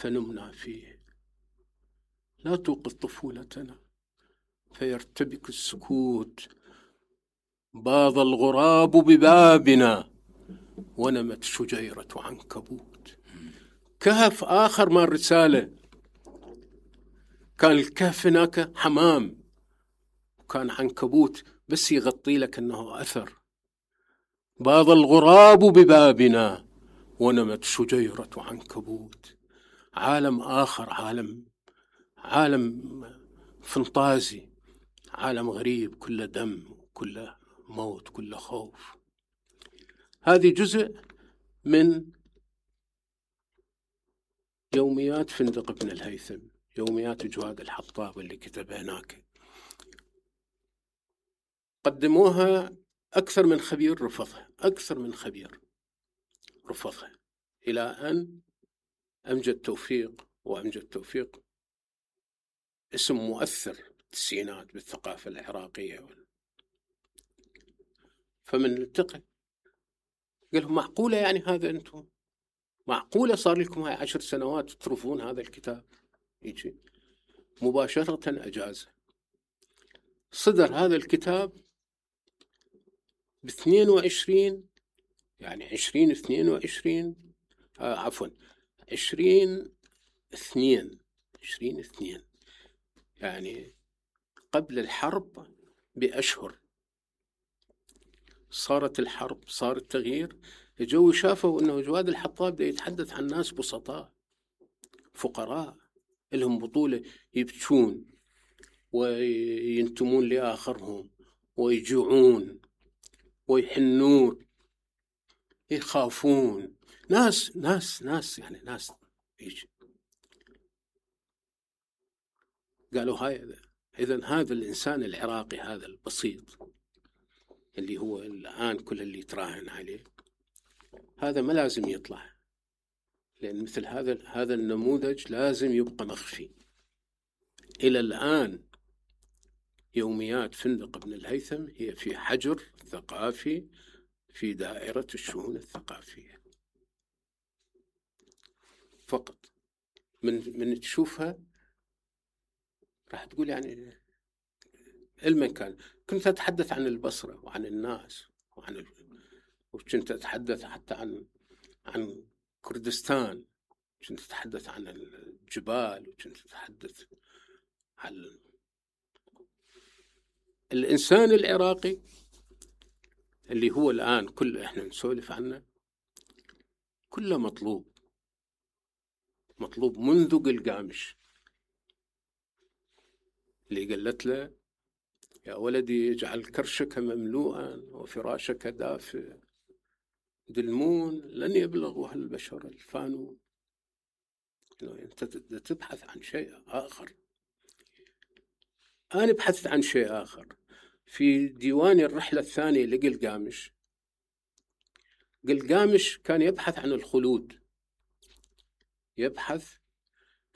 فنمنا فيه. لا توقظ طفولتنا فيرتبك السكوت. باض الغراب ببابنا ونمت شجيرة عنكبوت. كهف آخر مال رسالة، كان الكهف هناك حمام، وكان عنكبوت بس يغطي لك أنه أثر. باض الغراب ببابنا ونمت شجيرة عنكبوت. عالم آخر، عالم فانتازي، عالم غريب، كله دم، كله موت، كله خوف. هذه جزء من يوميات فندق ابن الهيثم، يوميات جواد الحطاب اللي كتبها هناك. قدموها أكثر من خبير رفضها، أكثر من خبير رفضها، إلى أن أمجد توفيق، وأمجد توفيق اسم مؤثر التسعينات بالثقافة العراقية. فمن التقى قال لهم معقولة يعني هذا أنتم؟ معقولة صار لكم هاي 10 سنوات ترفضون هذا الكتاب؟ يجي مباشرة أجازه. صدر هذا الكتاب ب22، يعني 2022، عفوا 20/2، يعني قبل الحرب بأشهر صارت الحرب، صار التغيير. الجو شافوا أنه جواد الحطاب ده يتحدث عن ناس بسطاء فقراء لهم بطولة، يبكون وينتمون لآخرهم ويجوعون ويحنون، يخافون، ناس يعني ناس يجي. قالوا هاي إذن هذا الإنسان العراقي هذا البسيط اللي هو الآن كل اللي يتراهن عليه، هذا ما لازم يطلع، لأن مثل هذا النموذج لازم يبقى مخفي. إلى الآن يوميات فندق ابن الهيثم هي في حجر ثقافي في دائرة الشؤون الثقافية فقط. من تشوفها راح تقول يعني المكان. كنت أتحدث عن البصرة وعن الناس وكنت أتحدث حتى عن كردستان، كنت أتحدث عن الجبال، وكنت أتحدث عن الإنسان العراقي اللي هو الآن كل إحنا نسولف عنه، كله مطلوب منذ قلقامش اللي قالت له يا ولدي اجعل كرشك مملوءا وفراشك دافئ، دلمون لن يبلغ البشر الفانون. أنت تبحث عن شيء آخر، أنا بحثت عن شيء آخر. في ديوان الرحلة الثانية لقلقامش، قلقامش كان يبحث عن الخلود، يبحث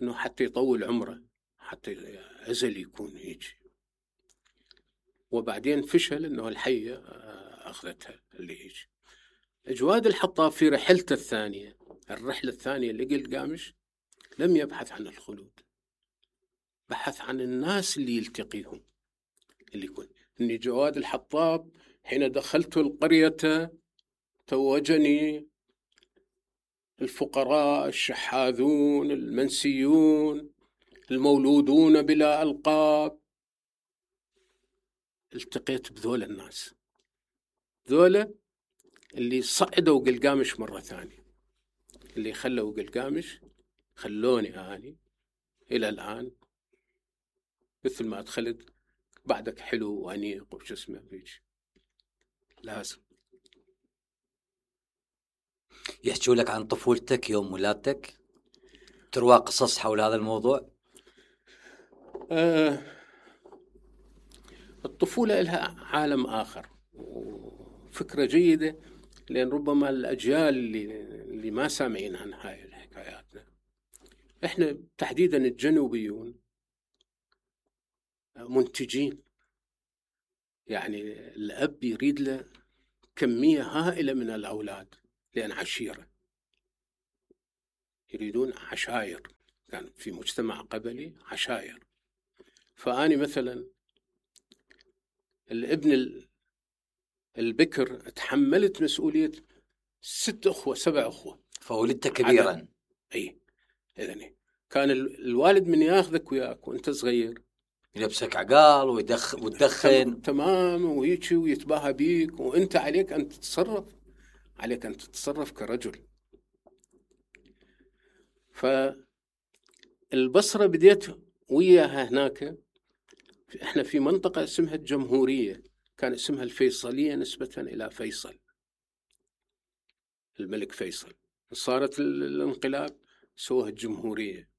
أنه حتى يطول عمره، حتى أزل يكون يجي. وبعدين فشل أنه الحية أخذتها اللي يجي. جواد الحطاب في رحلته الثانية، الرحلة الثانية لقلقامش، لم يبحث عن الخلود، بحث عن الناس اللي يلتقيهم، اللي يكون. إني جواد الحطاب حين دخلت القرية توجني الفقراء الشحاذون المنسيون المولودون بلا ألقاب. التقيت بذول الناس، ذولا اللي صعدوا قلقامش مرة ثانية، اللي خلوا قلقامش، خلوني أني إلى الآن مثل ما أدخلت بعدك حلو وأنيق وش اسمه فيش. لازم يحكوا لك عن طفولتك يوم ولادتك، تروى قصص حول هذا الموضوع. الطفولة لها عالم آخر وفكرة جيدة، لأن ربما الأجيال اللي ما سامعين عن هاي الحكايات، إحنا تحديدا الجنوبيون منتجين، يعني الأب يريد له كمية هائلة من الأولاد، لأن عشيرة يريدون عشائر. كان في مجتمع قبلي عشائر. فأني مثلا الابن البكر تحملت مسؤولية 6 أخوة 7 أخوة، فولدت كبيرا. أي إذن كان الوالد من ياخذك وياك وأنت صغير يلبسك عقال وتدخن تمام ويجي ويتباهى بيك، وأنت عليك أن تتصرف كرجل. فالبصرة بديت وياها هناك. احنا في منطقة اسمها الجمهورية، كان اسمها الفيصلية نسبة إلى فيصل الملك فيصل. صارت الانقلاب سووها الجمهورية.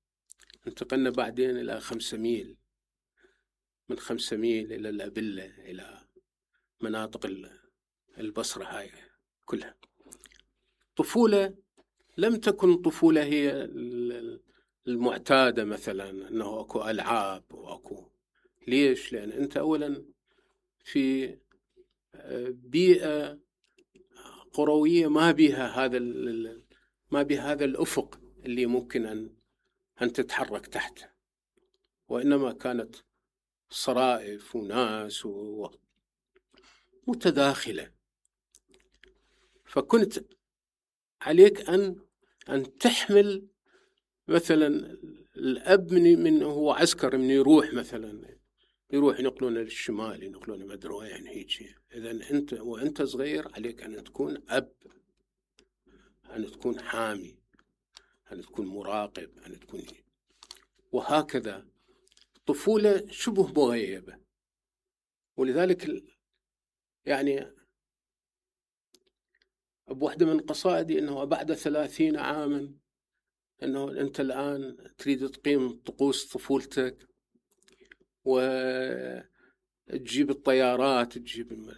انتقلنا بعدين إلى 5 ميل، من 5 ميل إلى الأبلة، إلى مناطق البصرة هاي كلها. طفولة لم تكن طفولة هي المعتادة، مثلا أنه أكو ألعاب وأكو. ليش؟ لأن أنت أولا في بيئة قروية ما بها هذا الأفق اللي ممكن أن تتحرك تحته، وإنما كانت صرائف وناس متداخلة. فكنت عليك أن تحمل مثلا الأب من هو عسكر، من يروح مثلا ينقلون للشمال، ينقلون ما ادري وين هيك. اذا انت وانت صغير عليك ان تكون اب، ان تكون حامي، ان تكون مراقب، ان تكون وهكذا. طفولة شبه مغيبة. ولذلك يعني بواحدة من قصائدي انه بعد 30 عاما انه انت الان تريد تقيم طقوس طفولتك وتجيب الطيارات، تجيب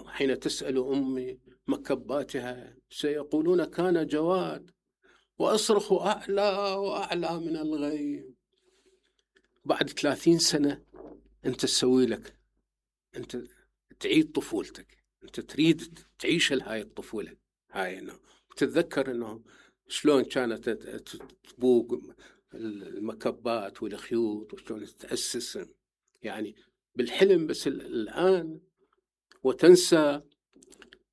حين تسأل أمي مكباتها سيقولون كان جواد وأصرخ أعلى وأعلى من الغيم. بعد 30 سنة أنت تسوي لك، أنت تعيد طفولتك، أنت تريد تعيش هاي الطفولة هاي، إنه تتذكر إنه شلون كانت تبوق المكبات والخيوط وشلون تتأسس يعني بالحلم. بس الآن وتنسى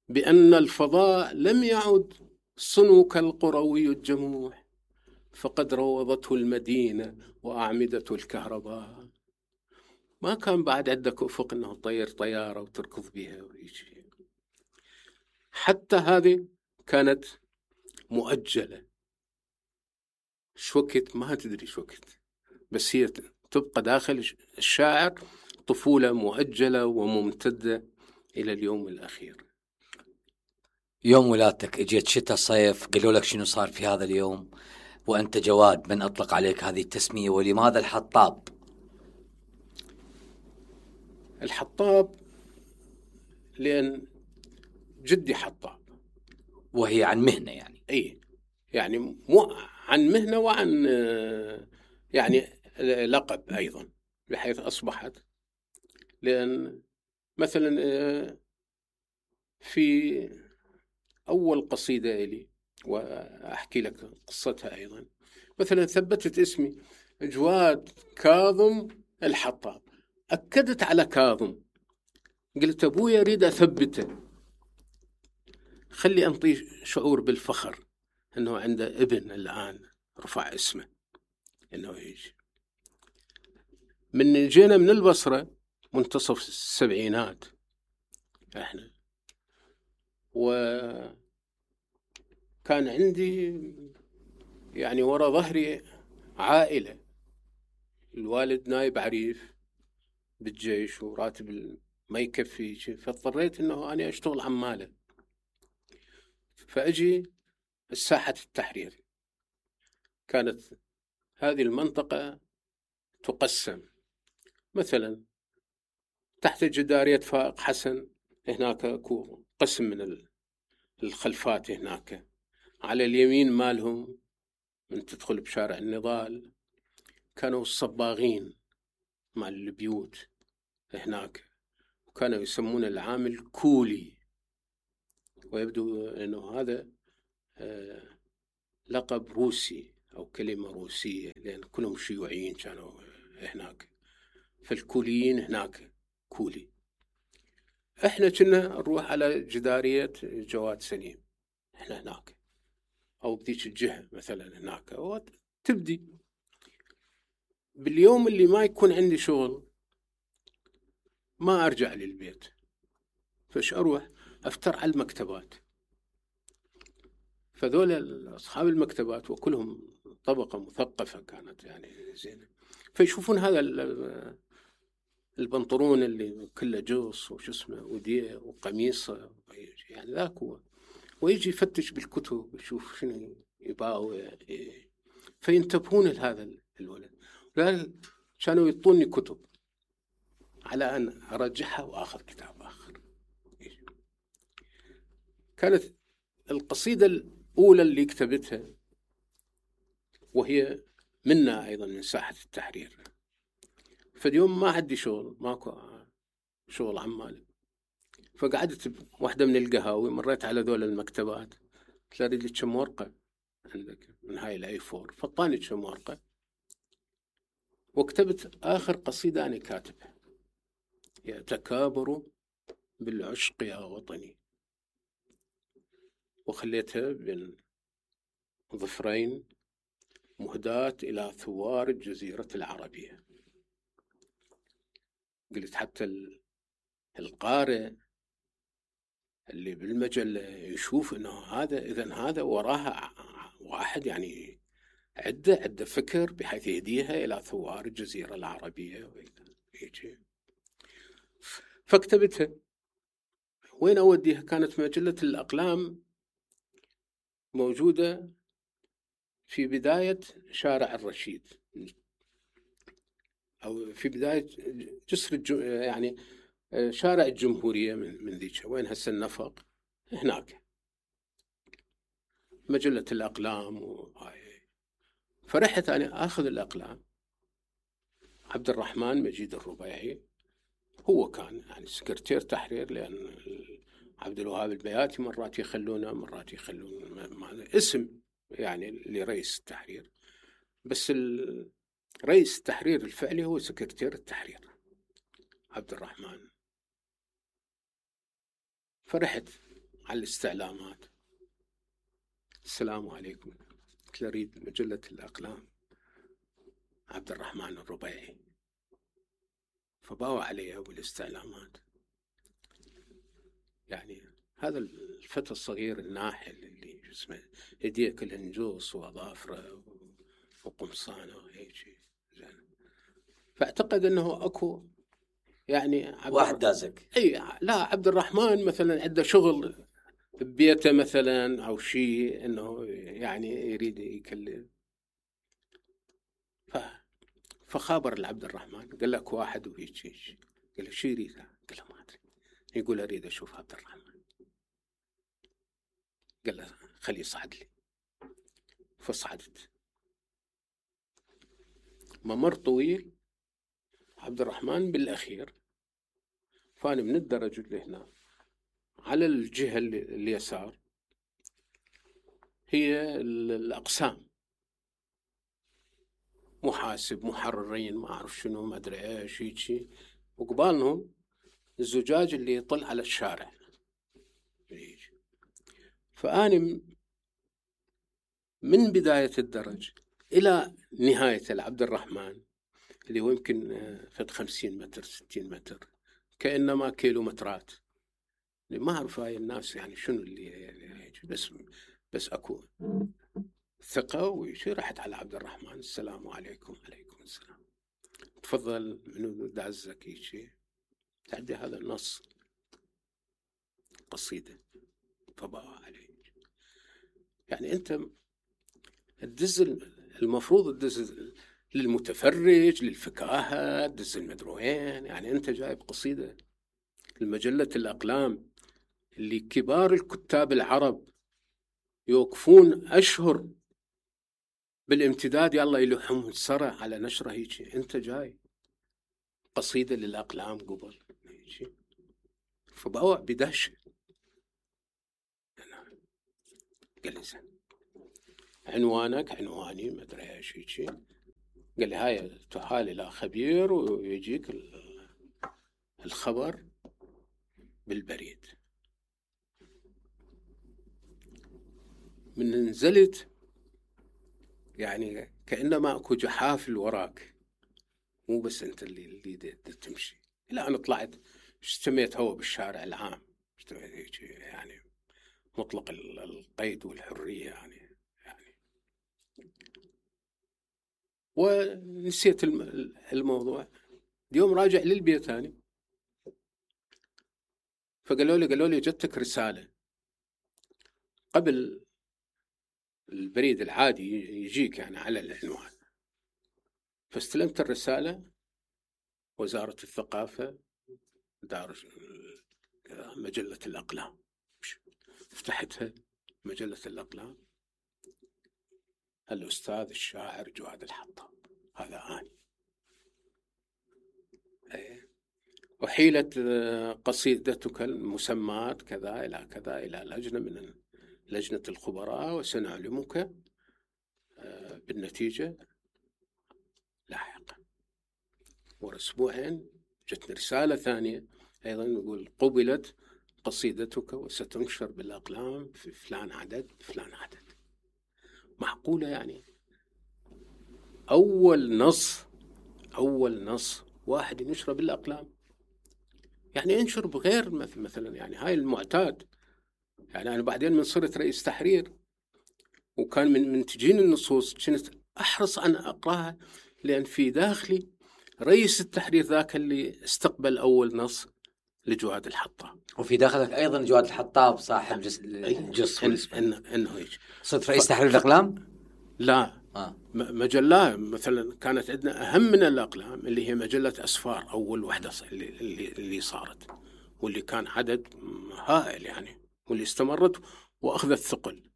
بأن الفضاء لم يعد صنوك القروي الجموح، فقد روضته المدينة وأعمدة الكهرباء. ما كان بعد عندك أفق أنه تطير طيارة وتركض بها ويجي. حتى هذه كانت مؤجلة، شوكت ما تدري شوكت، بس هي تبقى داخل الشاعر طفولة مؤجلة وممتدة إلى اليوم الأخير. يوم ولادتك اجيت شتاء صيف، قالوا لك شنو صار في هذا اليوم وأنت جواد؟ من أطلق عليك هذه التسمية؟ ولماذا الحطاب؟ الحطاب لأن جدي حطاب، وهي عن مهنة يعني. أي يعني مو عن مهنة، وعن يعني لقب أيضا، بحيث أصبحت. لأن مثلا في أول قصيدة لي وأحكي لك قصتها أيضا، مثلا ثبتت اسمي جواد كاظم الحطاب، أكدت على كاظم. قلت أبويا أريد أثبته، خلي أنطيه شعور بالفخر أنه عنده ابن الآن رفع اسمه أنه يجي. من جينا من البصرة منتصف السبعينات احنا، وكان عندي يعني وراء ظهري عائلة، الوالد نايب عريف بالجيش وراتب ما يكفي، فاضطريت انه انا اشتغل عمالة. فاجي الساحة التحرير، كانت هذه المنطقة تقسم مثلا تحت جدارية فائق حسن، هناك اكو قسم من الخلفات، هناك على اليمين مالهم من تدخل بشارع النضال كانوا الصباغين مال البيوت هناك، وكانوا يسمون العامل كولي، ويبدو أنه هذا لقب روسي أو كلمة روسية، لأن كلهم شيوعيين كانوا هناك، فالكوليين هناك كولي. احنا كنا نروح على جدارية جواد سليم، احنا هناك أو بذيك الجهة مثلا هناك، وتبدي باليوم اللي ما يكون عندي شغل ما أرجع للبيت، فش أروح أفتر على المكتبات. فذول أصحاب المكتبات وكلهم طبقة مثقفة كانت يعني زينة، فيشوفون هذا البنطلون اللي كله جوص وش اسمه وديه وقميصه يعني ذاك هو، ويجي يفتش بالكتب يشوف شنو يباوع، فينتبهون لهذا الولد. كانوا يعطوني كتب على أن أرجعها وآخذ كتاب آخر. كانت القصيدة الأولى اللي كتبتها وهي منا أيضا من ساحة التحرير. فاليوم ما عندي شغل، ماكو شغل عمال، فقعدت بواحدة من القهاوي، مريت على ذول المكتبات، قلت له أريد لي كم ورقة عندك من هاي الأي 4، فطاني كم ورقة وكتبت آخر قصيدة أنا كاتبها: يتكابر بالعشق يا وطني، وخليتها بين ظفرين مهداة إلى ثوار الجزيرة العربية. قلت حتى القارئ اللي بالمجلة يشوف إنه هذا إذن هذا وراها واحد يعني عدة فكر بحيث يهديها إلى ثوار الجزيرة العربية. فاكتبتها. وين أوديها؟ كانت مجلة الأقلام موجودة في بداية شارع الرشيد، أو في بداية جسر يعني شارع الجمهورية من ذيك، وين هسه النفق هناك مجلة الأقلام فرحت أنا أخذ الأقلام. عبد الرحمن مجيد الربيعي هو كان يعني سكرتير تحرير، لأن عبد الوهاب البياتي مرات يخلونه مرات يخلون اسم يعني لرئيس التحرير، بس رئيس التحرير الفعلي هو سكرتير التحرير عبد الرحمن. فرحت على الاستعلامات: السلام عليكم، قلت له أريد مجلة الأقلام عبد الرحمن الربيعي. فباوع عليها بالاستعلامات. يعني هذا الفتى الصغير الناحل اللي اسمه يديه كلها نجوص وأظافره وقمصانه وهيك، فاعتقد أنه أكو يعني واحد دازك. أي لا، عبد الرحمن مثلا عنده شغل ببيته مثلا أو شيء، أنه يعني يريد يكلم. فخابر العبد الرحمن قال لك واحد وهيك، قال له شو يريد؟ قال له ما أدري. يقول أريد أشوف عبد الرحمن. قال له خليه يصعد لي. فصعدت. ممر طويل، عبد الرحمن بالأخير. فأنا من الدرج اللي هنا على الجهة اليسار هي الأقسام، محاسب، محررين، ما أعرف شنو، ما أدري إيش هيك، وقبالهم الزجاج اللي يطل على الشارع. فأنا من بداية الدرج إلى نهاية العبد الرحمن اللي هو يمكن فد 50 متر 60 متر، كأنما كيلومترات. ما أعرف هاي الناس يعني شنو اللي بس أكو ثقة وشي. رحت على عبد الرحمن: السلام عليكم. عليكم السلام. تفضل، منو دعزك شيء؟ تعدي هذا النص قصيدة. فباوع عليه. يعني أنت الدز المفروض الدز للمتفرج، للفكاهة، دز المدروين. يعني أنت جايب قصيدة المجلة الأقلام اللي كبار الكتاب العرب يوقفون أشهر بالامتداد، يلا يلوحهم السرع على نشرة هيك، أنت جاي قصيدة للأقلام قبل. فباوع بدهشة. قال لي زين، عنوانك عنواني ما ادري ايش شيء. قال لي هاي تحال الى خبير ويجيك الخبر بالبريد. من نزلت يعني كأنما اكو جحافل وراك، مو بس انت اللي تمشي. لا انا طلعت اشتميت هو بالشارع العام، اشتميت يعني مطلق القيد والحرية يعني ونسيت الموضوع. اليوم راجع للبيت ثاني، فقالوا لي جتك رسالة قبل البريد العادي يجيك يعني على العنوان. فاستلمت الرسالة، وزارة الثقافة، دار مجلة الأقلام. فتحتها مجلة الأقلام، الأستاذ الشاعر جواد الحطاب، هذا آني. وحيلت قصيدتك المسمات كذا إلى كذا إلى لجنة من لجنة الخبراء، وسنعلمك بالنتيجة لاحقا. وأسبوعين جتني رسالة ثانية أيضا يقول قبلت قصيدتك وستنشر بالأقلام في فلان عدد فلان عدد. معقولة يعني؟ أول نص واحد ينشره بالأقلام، يعني ينشر بغير مثلا يعني هاي المعتاد. يعني أنا بعدين من صرت رئيس تحرير وكان من تجيني النصوص كنت أحرص أن أقرأها، لأن في داخلي رئيس التحرير ذاك اللي استقبل أول نص لجواد الحطاب، وفي داخلك أيضا جواد الحطاب صاحب جص إنه هيك. صرت رئيس تحرير الأقلام؟ لا مجلة مثلا كانت عندنا أهم من الأقلام اللي هي مجلة أسفار، أول وحدة اللي صارت، واللي كان عدد هائل يعني، واللي استمرت وأخذت ثقل.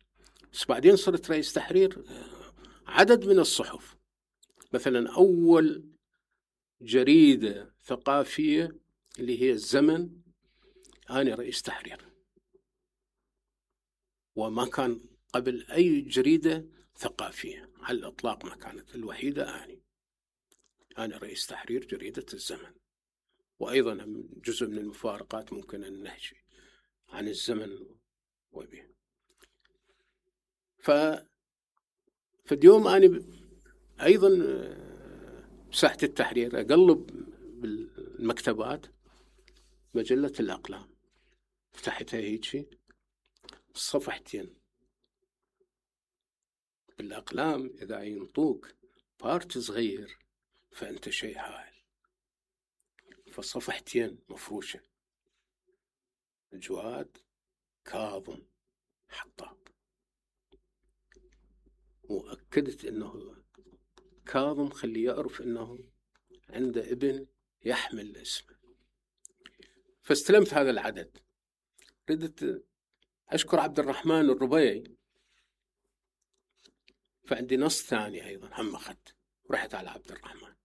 بس بعدين صرت رئيس تحرير عدد من الصحف. مثلا أول جريدة ثقافية اللي هي الزمن، أنا رئيس تحرير، وما كان قبل أي جريدة ثقافية على الإطلاق، ما كانت الوحيدة أنا رئيس تحرير جريدة الزمن. وأيضا جزء من المفارقات ممكن أن نحكي عن الزمن وبه. فاليوم أنا أيضا بساحة التحرير أقلب بالمكتبات مجلة الأقلام، فتحتها هيك صفحتين بالأقلام. إذا ينطوك بارت صغير فأنت شيء هائل. فصفحتين مفروشة جواد كاظم حطاب، وأكدت أنه كاظم خلي يعرف أنه عنده ابن يحمل اسمه. فاستلمت هذا العدد. ردت أشكر عبد الرحمن الربيعي، فعندي نص ثاني أيضا هم أخذت، ورحت على عبد الرحمن.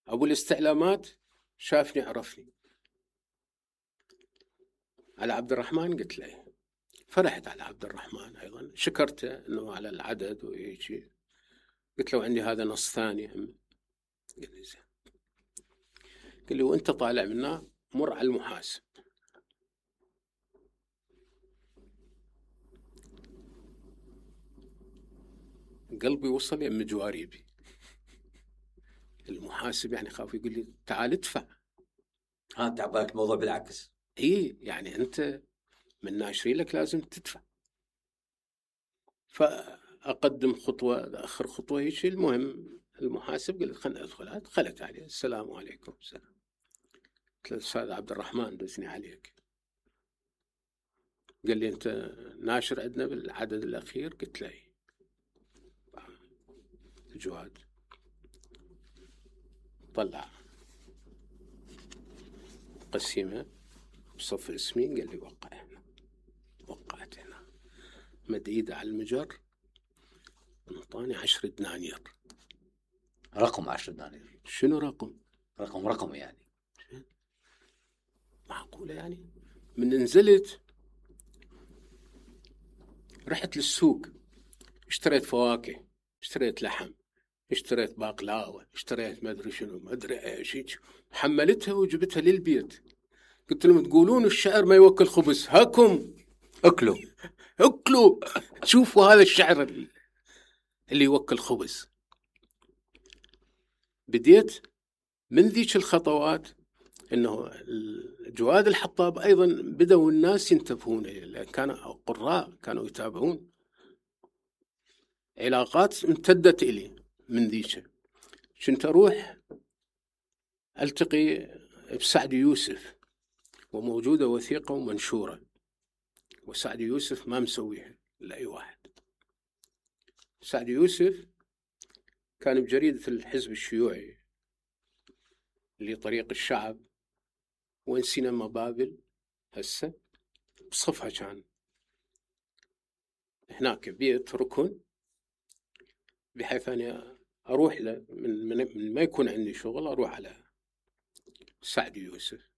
أبو الاستعلامات شافني عرفني، على عبد الرحمن قلت له، فرحت على عبد الرحمن أيضا، شكرته أنه على العدد ويجي. قلت له عندي هذا نص ثاني هم. قال لي زين. قال لي وأنت طالع منا مر على المحاسب. قلبي وصل يم جواريبي. المحاسب يعني خاف يقول لي تعال ادفع. انت عبالك الموضوع بالعكس. يعني انت من ناشرين لك لازم تدفع. فاقدم خطوه اخر خطوه هيك. المهم المحاسب قال خلنا ادخل. دخلت عليه السلام عليكم. السلام. قلت له استاذ عبد الرحمن دسني عليك. قال لي انت ناشر عندنا بالعدد الاخير؟ قلت له جواد. طلع قسيمة بصف اسمي، قال لي وقع هنا. وقعت هنا، مد ايده على المجر، انطاني 10 دنانير. رقم 10 دنانير؟ شنو رقم؟ رقم يعني معقولة يعني؟ من نزلت رحت للسوق، اشتريت فواكه، اشتريت لحم، اشتريت باقلاوة، اشتريت ما أدري شنو ما أدري إيش، حملتها وجبتها للبيت. قلت لهم تقولون الشعر ما يوكل خبز، هاكم اكلوا اكلوا. شوفوا هذا الشعر اللي يوكل خبز. بديت من ذيك الخطوات انه جواد الحطاب ايضا بدأوا الناس ينتبهون، لأن كانوا قراء كانوا يتابعون. علاقات امتدت إلي من ذيك. كنت أروح ألتقي بسعد يوسف، وموجودة وثيقة ومنشورة، وسعد يوسف ما مسويها لأي واحد. سعد يوسف كان بجريدة الحزب الشيوعي اللي طريق الشعب، وين سينما بابل هسه بصفها. كان هناك بيت ركن، بحيث أنا أروح له من ما يكون عندي شغل أروح على سعد يوسف.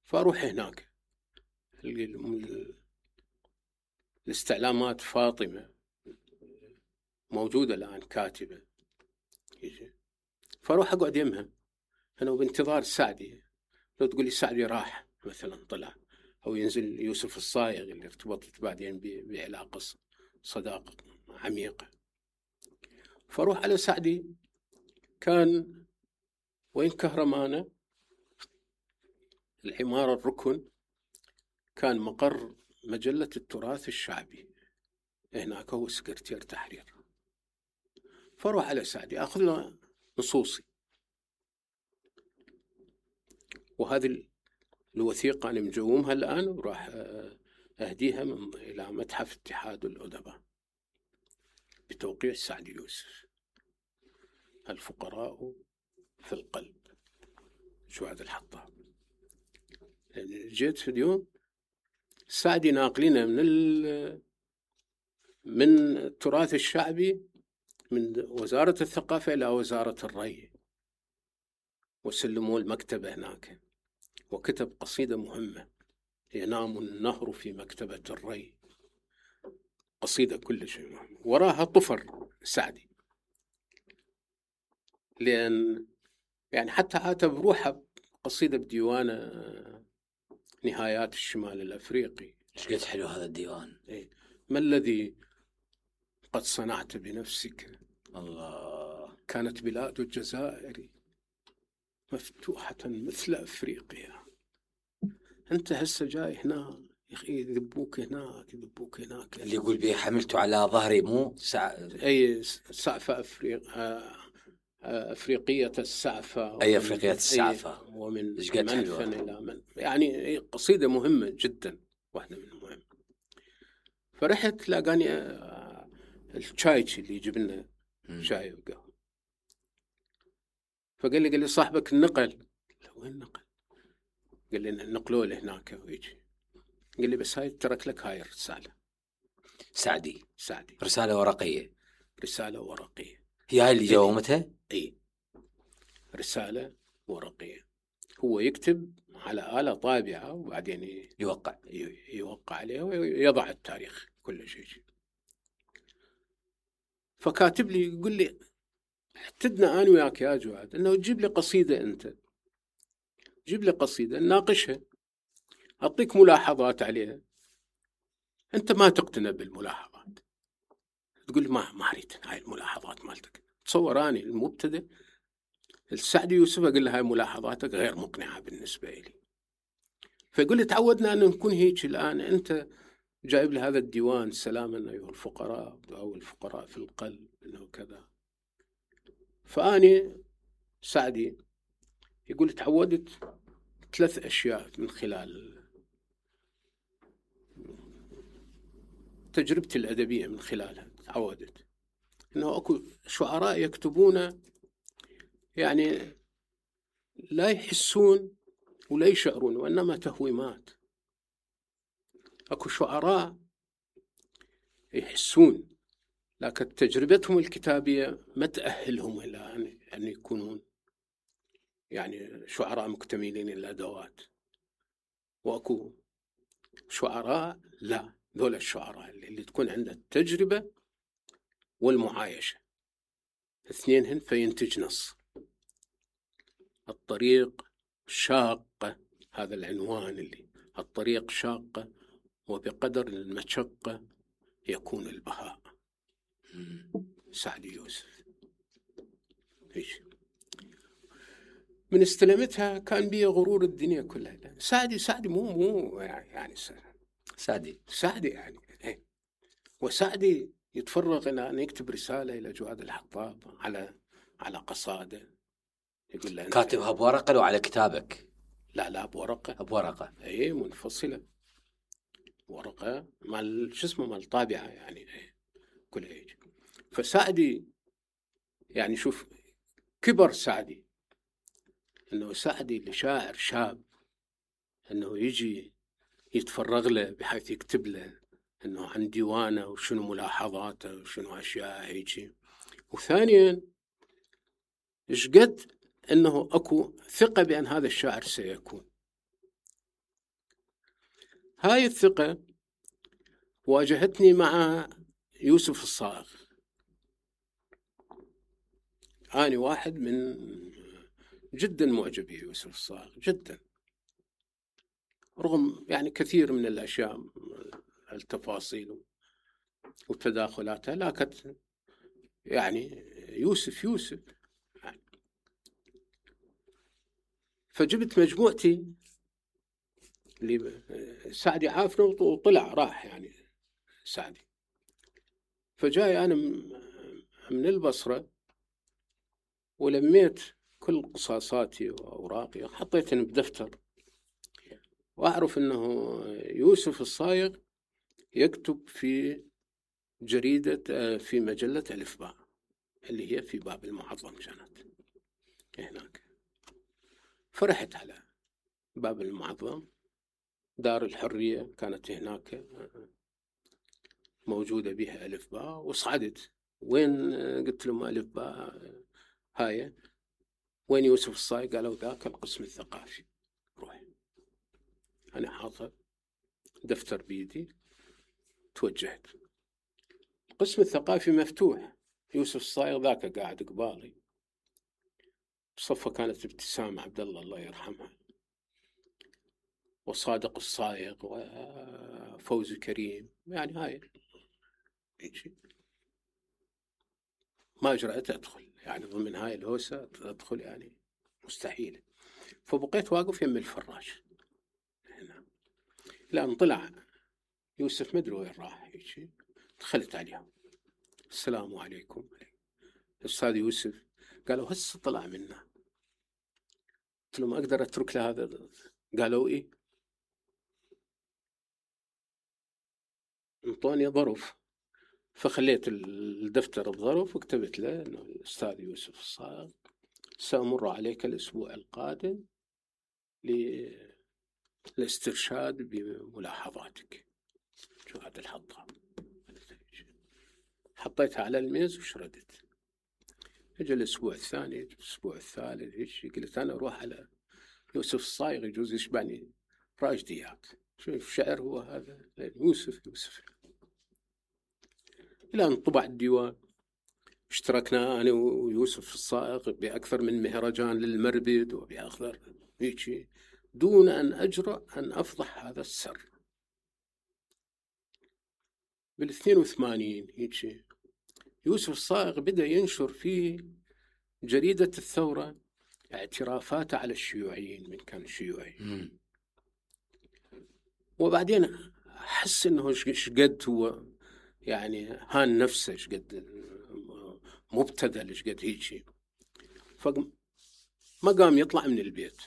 فأروح هناك الاستعلامات فاطمة موجودة الآن كاتبة، فأروح أقعد يمها أنا وبانتظار سعدي. لو تقولي سعدي راح مثلا طلع، أو ينزل يوسف الصايغ اللي ارتبطت بعدين بعلاقة صداقة عميقة، فأروح على سعدي. كان وين كهرمانة العمارة الركن، كان مقر مجلة التراث الشعبي، هناك هو سكرتير تحرير. فأروح على سعدي أخذ له نصوصي، وهذه الوثيقة أنا مجومها الآن وراح أهديها إلى متحف اتحاد الأدباء بتوقيع سعد يوسف. الفقراء في القلب، جواد الحطاب. جيت في اليوم سعدي ناقلنا من التراث الشعبي من وزارة الثقافة إلى وزارة الري، وسلموا المكتبة هناك، وكتب قصيدة مهمة: ينام النهر في مكتبة الري. قصيدة كل شيء مهم. وراها طفر سعدي، لأن يعني حتى عاتب روحه قصيدة بديوانه نهايات الشمال الأفريقي. ايش قد حلو هذا الديوان. ما الذي قد صنعت بنفسك؟ الله. كانت بلاد الجزائر مفتوحة مثل أفريقيا، أنت هسه جاي هنا يذبوك هناك يذبوك هناك. اللي يقول بي حملته على ظهري مو أي سعفة أفريقية السعفة. أي أفريقية السعفة. ومن منفن إلى من، يعني قصيدة مهمة جدا، واحدة من المهم. فرحت لاقاني الشاي اللي يجيب لنا شاي وقهوة، فقال لي صاحبك النقل. وين نقل؟ قال لي نقلوا له هناك ويجي. قال لي بس هاي ترك لك هاي الرسالة. سعدي رسالة ورقية. هي هاي اللي جاومتها؟ اي رسالة ورقية. هو يكتب على آلة طابعة وبعدين يوقع عليها ويضع التاريخ كل شيء. فكاتب لي يقول لي احتدنا أنا وياك يا جواد انه تجيب لي قصيدة، انت جيب لي قصيدة نناقشها، أعطيك ملاحظات عليها، أنت ما تقتنع بالملاحظات، تقول ما أريد هاي الملاحظات مالتك. تصور أنا المبتدئ السعد يوسف أقول له هاي ملاحظاتك غير مقنعة بالنسبة لي. فيقول لي تعودنا أن نكون هيك. الآن أنت جايب لي هذا الديوان سلاما أيها الفقراء أو الفقراء في القلب إنه كذا. فأني سعدي يقول تعودت 3 أشياء من خلال تجربتي الأدبية، من خلالها تعودت إنه أكو شعراء يكتبون يعني لا يحسون ولا يشعرون، وإنما تهويمات. أكو شعراء يحسون، لكن تجربتهم الكتابية ما تأهلهم إلى أن يكونون يعني شعراء مكتملين الأدوات. وأكو شعراء لا ذولا الشعراء اللي تكون عنده التجربة والمعايشة اثنينهن فينتج نص. الطريق شاقة، هذا العنوان اللي الطريق شاقة وبقدر المشقة يكون البهاء. سعدي يوسف. من استلمتها كان بي غرور الدنيا كلها. سعدي مو يعني سعدي يعني وسعدي يتفرغ إلى أن يكتب رسالة إلى جواد الحطاب على قصائده، يقول له كاتبها بورقة لو على كتابك؟ لا بورقة. بورقة اي منفصلة، ورقة مال شو اسمه مال طابعة يعني كل هيك. فسعدي يعني شوف كبر سعدي، انه سعدي لشاعر شاب انه يجي يتفرغ له بحيث يكتب له انه عن ديوانه وشنو ملاحظاته وشنو اشياء هيك. وثانيا ايش قد انه اكو ثقة بان هذا الشاعر سيكون. هاي الثقة واجهتني مع يوسف الصائغ. أنا واحد من جدا معجب بيوسف الصائغ جدا، رغم يعني كثير من الأشياء التفاصيل وتداخلاتها، لكن يعني يوسف يعني. فجبت مجموعتي اللي سعدي عافنا وطلع راح يعني سعدي. فجاي أنا من البصرة ولميت كل قصاصاتي وأوراقي وحطيتهم بدفتر، وأعرف أنه يوسف الصائغ يكتب في جريدة في مجلة ألف باء اللي هي في باب المعظم كانت هناك. فرحت على باب المعظم، دار الحرية كانت هناك موجودة بها ألف باء، وصعدت وين قلت لهم ألف باء هاي وين يوسف الصائغ؟ قالوا ذاك القسم الثقافي. روح. أنا حاطة دفتر بيدي توجهت. القسم الثقافي مفتوح، يوسف الصائغ ذاك قاعد قبالي، بصفة كانت ابتسام عبد الله يرحمها، وصادق الصائغ وفوزي كريم، يعني هاي ما جرأت أدخل يعني ضمن هاي الهوسة أدخل يعني مستحيل. فبقيت واقف يم الفراش هنا لأن طلع يوسف مدري وين راح. دخلت عليهم السلام عليكم أستاذ يوسف. قالوا هسه طلع منا. قلت لهم أقدر أترك له هذا؟ قالوا إيه. انطوني ظرف، فخليت الدفتر بظرف وكتبت له إنه الأستاذ يوسف الصائغ سأمر عليك الأسبوع القادم للاسترشاد بملاحظاتك. شو هذا الحطام. حطيتها على الميز وشردت. اجى الأسبوع الثاني، الأسبوع الثالث، قلت أنا أروح على يوسف الصائغ يجوز يشبعني راجديات. شوف شعر هو هذا يوسف. إلى أن طبع الديوان. اشتركنا أنا ويوسف الصائغ بأكثر من مهرجان للمربد وبأخضر هيك، دون أن أجرأ أن أفضح هذا السر. بال82 هيك يوسف الصائغ بدأ ينشر في جريدة الثورة اعترافاته على الشيوعيين من كان شيوعي. وبعدين أحس إنه شقد هو يعني هان نفسه، شقد مبتذل، شقد هيك. فما قام يطلع من البيت،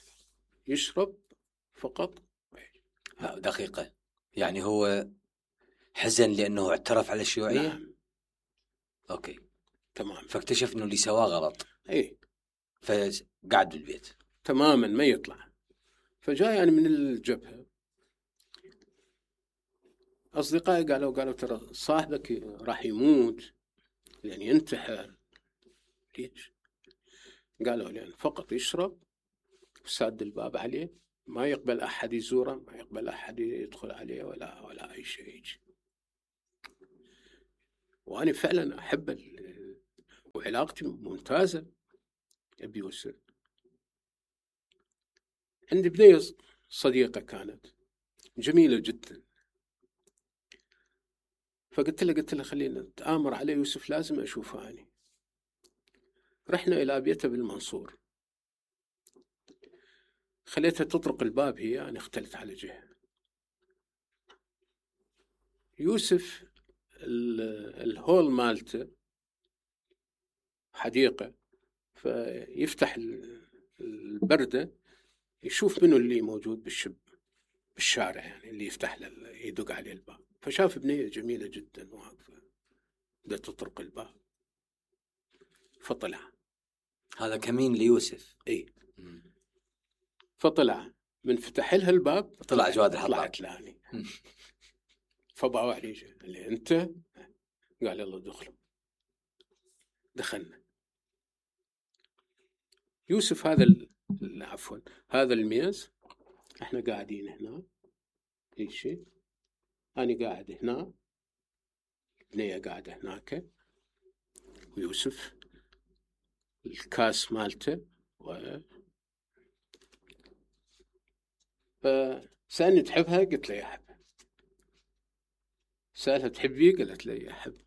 يشرب فقط. دقيقة، يعني هو حزن لأنه اعترف على الشيوعية؟ نعم. أوكي تمام. فاكتشف إنه اللي سواه غلط. إيه. فقعد بالبيت تماما ما يطلع. فجاء يعني من الجبهة أصدقائي قالوا ترى صاحبك راح يموت يعني ينتحر. ليش؟ قالوا لأن فقط يشرب وساد الباب عليه، ما يقبل أحد يزوره، ما يقبل أحد يدخل عليه ولا أي شيء. وأنا فعلا أحب وعلاقتي ممتازة بيوسف. عندي بنية صديقة كانت جميلة جدا، فقلت له خلينا نتآمر على يوسف، لازم أشوفه أنا. رحنا إلى بيته بالمنصور، خليتها تطرق الباب، هي أنا اختلت على جهة. يوسف الهول مالته حديقة، فيفتح البردة يشوف منه اللي موجود بالشارع، يعني اللي يفتح له يدق عليه الباب. فشاف بنية جميلة جدا واقفة بدأت تطرق الباب، فطلع. هذا كمين ليوسف. اي. فطلع من فتح لها الباب، طلع جواد الحطاب. طلعت لاني. فباوع عليه اللي انت، قال يلا دخلوا. دخلنا. يوسف هذا عفوا هذا الميز، احنا قاعدين هنا اي شيء، انا قاعد هنا، بنية قاعدة هناك، ويوسف الكاس مالته فسألني تحبها؟ قلت له يا أحب. سألها تحبي؟ قالت لي يا أحب.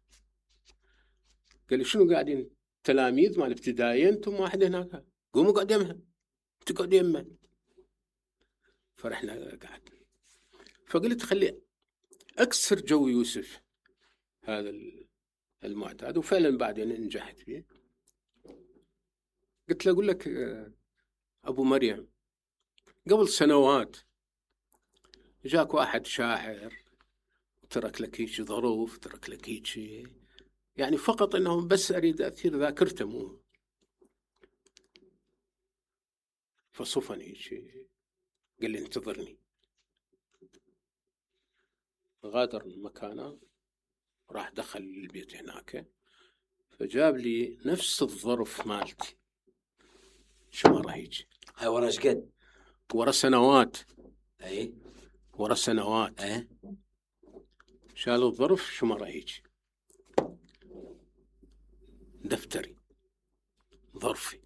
قال لي شنو قاعدين تلاميذ مال ابتدائي انتم واحد هناك، قوموا قعد يمها، انت قعد يمها. فرحنا قعد، فقلت خلي اكسر جو يوسف هذا المعتاد، وفعلا بعدين نجحت فيه. قلت له اقول لك ابو مريم، قبل سنوات جاك واحد شاعر وترك لك هيك ظروف، ترك لك هيك، يعني فقط انهم بس اريد اثير ذاكرته مو. فصفني شيء، قال لي انتظرني. غادر مكانه، راح دخل البيت هناك، فجاب لي نفس الظرف مالتي، شمرة هيك. هاي ورا ايش قد؟ ورا سنوات. اي ورا سنوات. اي. شال الظرف شمرة هيك، دفتري، ظرفي،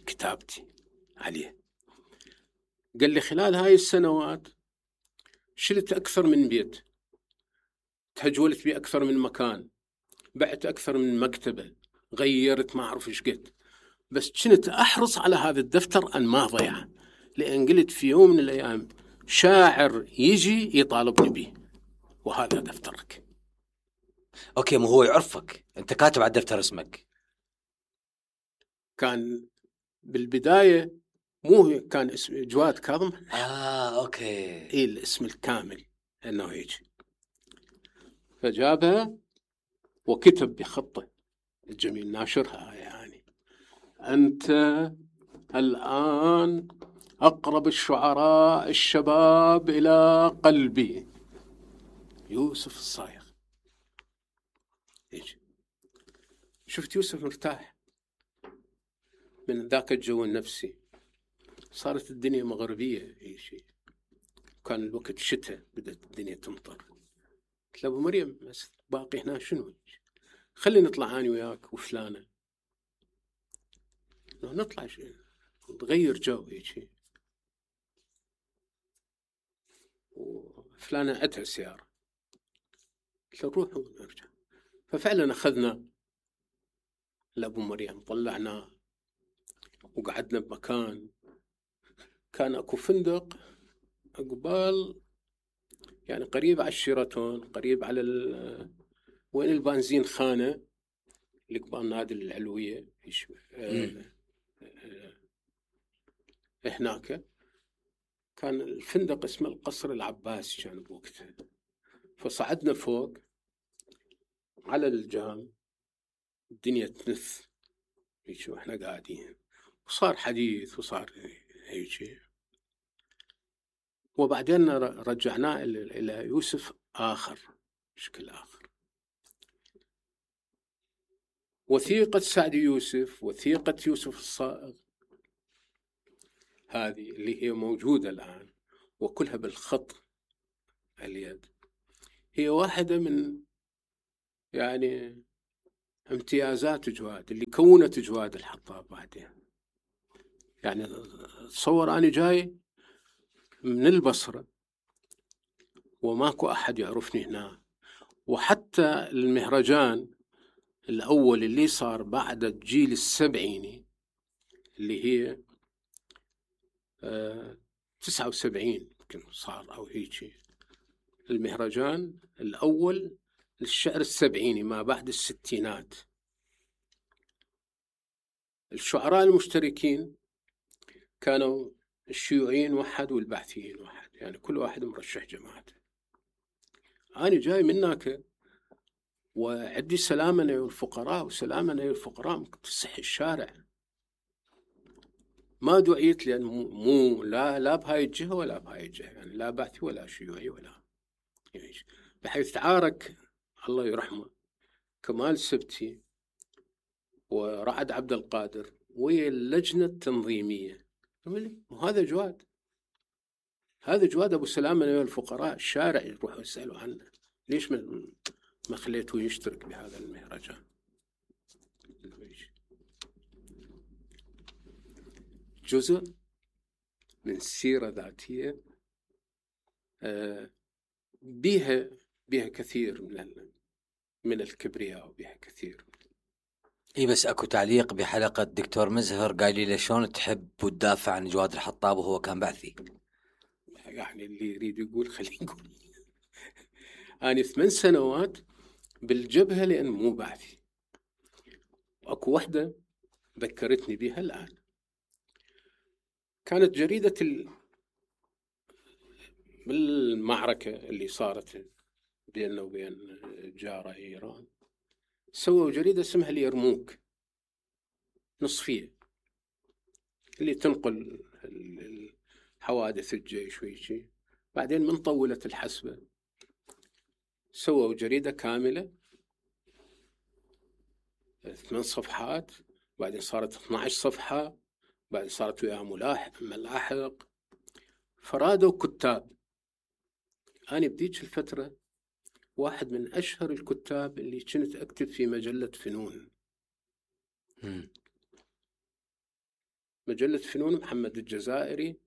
كتابتي عليه. قال لي خلال هاي السنوات شلت أكثر من بيت، تهجولت بي أكثر من مكان، بعت أكثر من مكتبة، غيرت ما أعرف إيش قد، بس كنت أحرص على هذا الدفتر أن ما ضيع، لأن قلت في يوم من الأيام شاعر يجي يطالبني به، وهذا دفترك. اوكي، مو هو يعرفك انت كاتب على الدفتر اسمك؟ كان بالبداية مو كان اسمي جواد كاظم. اوكي. إيه الاسم الكامل انه هيك. فجابها وكتب بخطه الجميل، ناشرها يعني: انت الان اقرب الشعراء الشباب الى قلبي، يوسف الصايغ. هيك شفت يوسف مرتاح من ذاك الجو النفسي. صارت الدنيا مغربية أي شيء، كان الوقت شتاء، بدأت الدنيا تمطر. قلت له أبو مريم بس باقي هنا شنو؟ خلي نطلع أنا وياك وفلانة، نطلع شيء نغير جو هيك. وفلانة عندها سيارة، قلت له نروح ونرجع. ففعلا أخذنا لأبو مريم، طلعنا وقعدنا بمكان كان أكو فندق قبال، يعني قريب على الشيراتون، قريب على وين البنزين خانة اللي قبال نادي العلوية هناك. كان الفندق اسمه القصر العباسي كان بوقتها. فصعدنا فوق على الجام، الدنيا تنث هيك واحنا قاعدين، وصار حديث وصار هيك. وبعدين رجعناه إلى يوسف آخر، شكل آخر. وثيقة سعد يوسف، وثيقة يوسف الصائغ، هذه اللي هي موجودة الآن وكلها بالخط اليد، هي واحدة من يعني امتيازات جواد اللي كونت جواد الحطاب بعدين. يعني تصور أنا جاي من البصرة وماكو أحد يعرفني هنا، وحتى المهرجان الأول اللي صار بعد الجيل السبعيني اللي هي 79 يمكن صار أو هيك، المهرجان الأول للشعر السبعيني ما بعد الستينات. الشعراء المشتركين كانوا الشيوعيين واحد والبعثيين واحد، يعني كل واحد مرشح جماعته. أنا جاي منك وعندي سلامنا والفقراء، وسلامنا والفقراء تسح الشارع. ما دعيت لأن مو لا بهاي الجهة ولا بهاي الجهة، يعني لا بعثي ولا شيوعي ولا يعني، بحيث تعارك الله يرحمه كمال سبتي ورعد عبد القادر ويا اللجنة التنظيمية. وهذا جواد، هذا جواد أبو سلامة والفقراء، الشارع يروحوا يسألوا عنه ليش ما خليته يشترك بهذا المهرجان. جزء من سيرة ذاتية بها كثير من الكبرياء وبها كثير. اي بس اكو تعليق بحلقة دكتور مزهر قال لي شلون تحب وتدافع عن جواد الحطاب وهو كان بعثي؟ يعني اللي يريد يقول خليه يقول. أنا 8 سنوات بالجبهة لأن مو بعثي. أكو وحدة ذكرتني بها الآن، كانت جريدة بالمعركة اللي صارت بيننا وبين جارة إيران، سووا جريدة اسمها اليرموك نصفية اللي تنقل حوادث الجيش ويشي. بعدين من طولت الحسبة سووا جريدة كاملة 8 صفحات، بعدين صارت 12 صفحة، بعدين صارت وياها ملاحق، فرادوا كتاب. أنا بديك الفترة واحد من أشهر الكتاب اللي كنت أكتب في مجلة فنون. مجلة فنون محمد الجزائري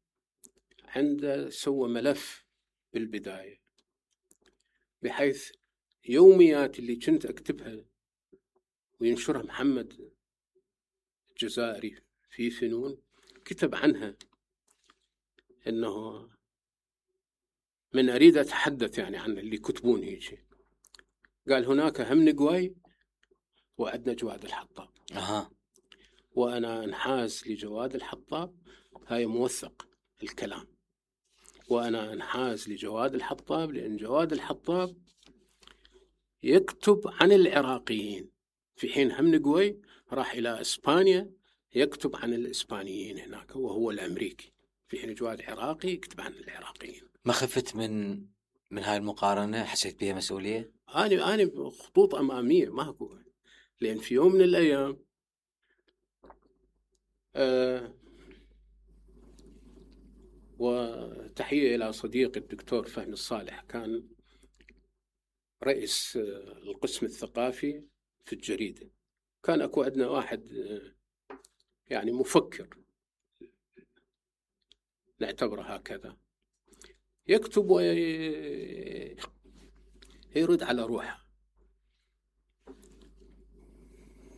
عنده سوى ملف بالبداية، بحيث يوميات اللي كنت أكتبها وينشرها محمد الجزائري في فنون كتب عنها إنه من أريد أتحدث يعني عن اللي كتبون هيك. قال هناك هم نقوي وعندنا جواد الحطاب. وأنا انحاز لجواد الحطاب، هاي موثق الكلام، وأنا انحاز لجواد الحطاب لأن جواد الحطاب يكتب عن العراقيين، في حين هم نقوي راح إلى إسبانيا يكتب عن الإسبانيين هناك وهو الأمريكي، في حين جواد عراقي يكتب عن العراقيين. ما خفت من هاي المقارنة؟ حسيت بها مسؤولية؟ أنا خطوط أمامية ما أقول، لأن في يوم من الأيام وتحية إلى صديقي الدكتور فهمي الصالح، كان رئيس القسم الثقافي في الجريدة. كان أكو عندنا واحد يعني مفكر نعتبره هكذا، يكتب ويرد على روحه،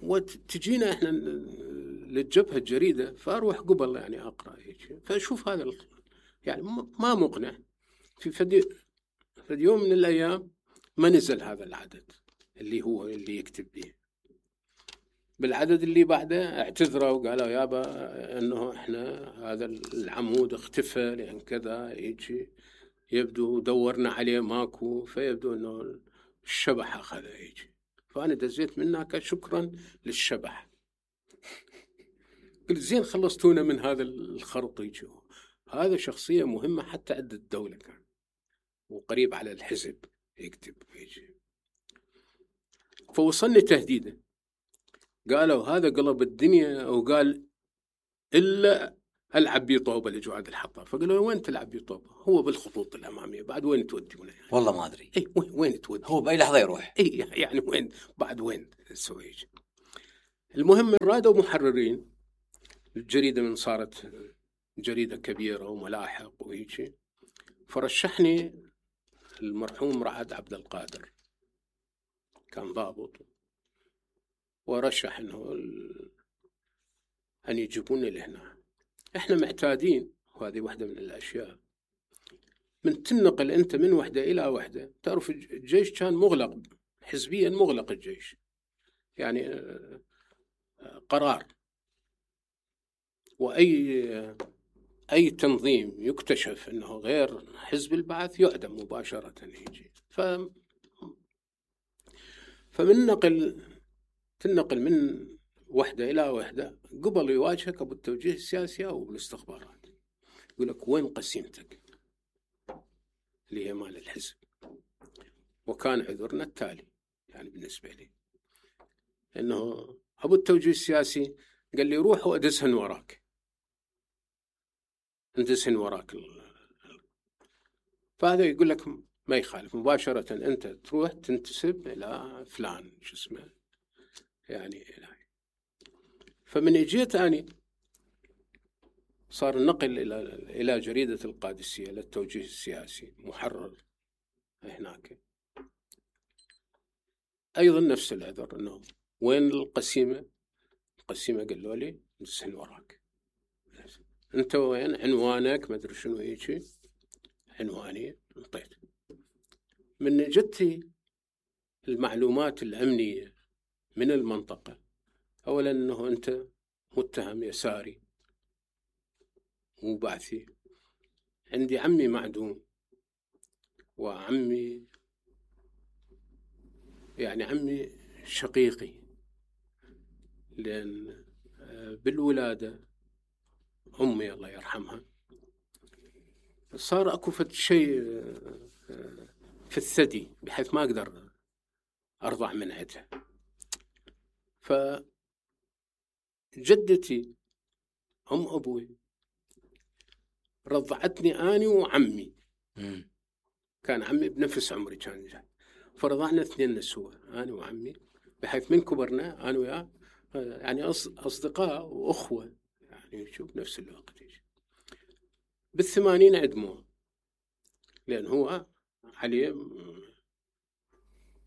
وتجينا إحنا للجبهة الجريدة، فأروح قبل يعني أقرأ هيك، فأشوف هذا يعني ما مقنع. في فد يوم من الأيام ما نزل هذا العدد اللي هو اللي يكتب به. بالعدد اللي بعده اعتذروا وقالوا يابا انه احنا هذا العمود اختفى لان كذا يجي، يبدو دورنا عليه ماكو، فيبدو انه الشبح اخذه يجي. فانا دزيت منك شكرا للشبح. قلت زين خلصتونا من هذا الخرط يجي. هذا شخصية مهمة حتى عند الدولة، كان وقريب على الحزب يكتب يجي. فوصلني تهديده، قالوا هذا قلب الدنيا، وقال إلا العب بيه طوبه لجواد الحطاب. فقالوا له وين تلعب بيه طوبه؟ هو بالخطوط الاماميه، بعد وين توديونه يعني؟ والله ما ادري. اي وين تودي؟ هو باي لحظه يروح. اي يعني وين بعد وين تسوي هيك؟ المهم رادوا محررين الجريده، من صارت جريده كبيره وملاحق وهيك، فرشحني المرحوم رعد عبد القادر، كان ضابط، ورشح انه ان يجيبوني لهنا. احنا معتادين، وهذه واحده من الاشياء، من تنقل انت من وحده الى وحده. تعرف الجيش كان مغلق حزبيا، مغلق الجيش يعني قرار، واي تنظيم يكتشف انه غير حزب البعث يعدم مباشره يجي. تنقل من وحده الى وحده، قبل يواجهك ابو التوجيه السياسي او بالاستخبارات، يقول لك وين قسيمتك اللي هي مال الحزب. وكان عذرنا التالي يعني بالنسبه لي، انه ابو التوجيه السياسي قال لي روح وادسهن وراك، اندسهن وراك. فهذا يقول لك ما يخالف، مباشره انت تروح تنتسب الى فلان شو اسمه يعني. فمن اجيت اني صار النقل الى جريده القادسيه للتوجيه السياسي، محرر هناك، ايضا نفس العذر، انه وين القسيمه؟ القسيمه قالوا لي ندسهن وراك، انت وين عنوانك؟ ما ادري شنو هيك عنواني، انطيت. من جتي المعلومات الامنيه من المنطقه، اولا انه انت متهم يساري مو بعثي. عندي عمي معدوم، وعمي يعني عمي شقيقي، لأن بالولادة أمي الله يرحمها صار أكو فد شيء في الثدي بحيث ما أقدر أرضع من عندها. فجدتي أم أبوي رضعتني أنا وعمي، كان عمي بنفس عمري كان جاي، فرضعنا اثنين نسوة أنا وعمي، بحيث من كبرنا أنا وياه يعني أصدقاء وأخوة يعني شوف نفس الوقت. بال80 عدموه، لأن هو عليه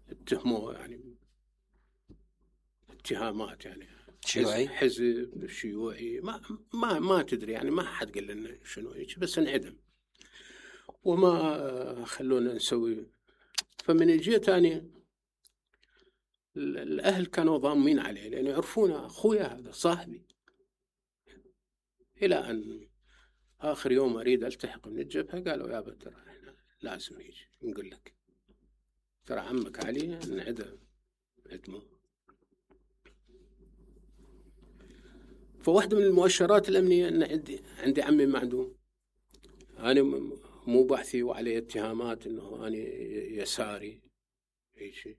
اتهموه يعني اتهامات يعني شيوعي، حزب شيوعي، ما تدري يعني، ما حد قال لنا شنو هيك، بس انعدم وما خلونا نسوي. فمن جيت أنا الأهل كانوا ضامين عليه، لأن يعرفونه أخويا هذا صاحبي، إلى أن آخر يوم أريد ألتحق من الجبهة قالوا يا ترى إحنا لازم يجي نقول لك ترى عمك علي انعدم عدمه. فواحدة من المؤشرات الأمنية أن عندي عمي معدوم، أنا مو بحثي وعليه اتهامات أنه أنا يساري أي شيء.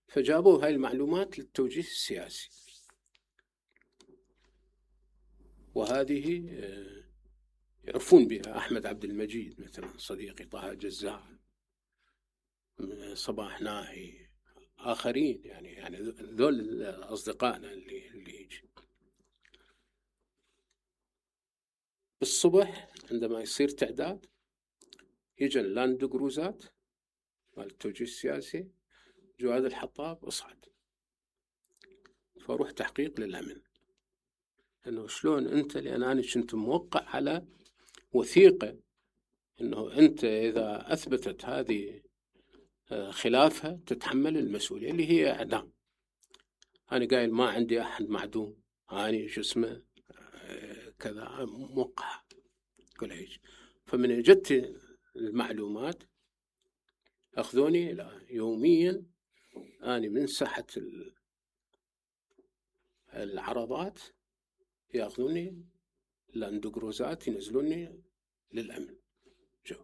فجابوا هاي المعلومات للتوجيه السياسي، وهذه يعرفون بها أحمد عبد المجيد مثلا صديقي، طه جزار، صباح ناهي، آخرين يعني ذول أصدقائنا اللي يجي. بالصبح عندما يصير تعداد يجي اللاند كروزات مال التوجيه السياسي، جواد الحطاب اصعد، فاروح تحقيق للأمن انه شلون انت، لان انا كنت موقع على وثيقة انه انت اذا اثبتت هذه خلافها تتحمل المسؤولية اللي هي اعدام. انا قايل ما عندي احد معدوم، اني شو اسمه كذا موقع كل هيك. فمن جت المعلومات أخذوني يوميا أنا من ساحة العرضات، يأخذوني لاندوغروزات ينزلوني للأمن. جو